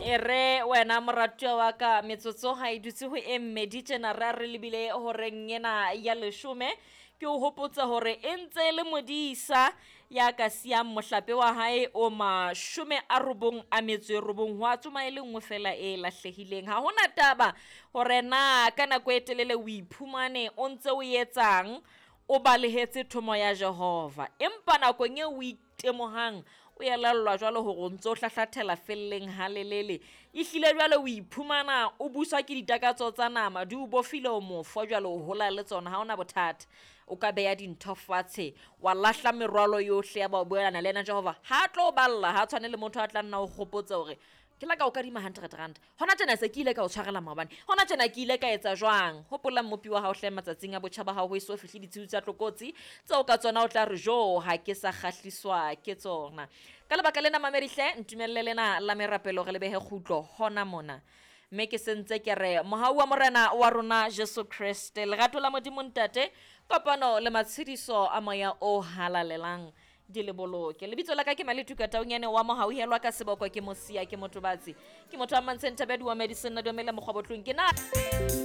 E re wena moratuwa wa ka, metsotso ha e dutse ho e mmedi tjena re a re lebile horeng ena ya leshome. Ke o hopotse hore e ntse e le modisa ya ka siyang mohlape wa hae o 99, ho a tsoma e le nngwe fela e lahlehileng. Ha hona taba hore na ka nako e telele o iphumane o ntse o etsang, o balehetse thomo ya Jehova. Empa nakong eo o itemohang, o elellwa jwalo hore o ntso o hlahlathela felleng halelele, ehlile jwale o iphumana o buswa ke ditakatso tsa nama, di o bofile o mofo jwale o hola le tsona, ha ona bothata. O ka beha dintho fatshe, wa lahla merwalo yohle ya ba o boelana le yena Jehova. Ha tlo o balla, ha tshwane le motho a tla nna o kgopotsa hore ke la ka o kadima R100, hona tjena se ke ile ka o tshwarela maobane, hona tjena ke ile ka etsa jwang. Hopola Mmopi wa hao hle matsatsing a botjha ba hao, ho eso fihle ditshiu tsa tlokotsi tseo ka tsona o tla re jo ha ke sa kgahliswa ke tsona. Ka lebaka lena mamedihle, ntumelle lena la merapelo re le behe kgutlo hona mona. Mme ke sentse ke re mohau wa Morena wa rona Jesu Kreste, lerato la Modimo Ntate, kopano le matshediso a Moya o Halalelang di le boloke. Lebitso la ka ke Maletuka Taunyane wa Mohauhelwa ka seboko, ke Mosia, ke Motobatsi, ke motho wa Mantsheng Thabedi wa Medicine, na dumele mokgwa botlong ke na.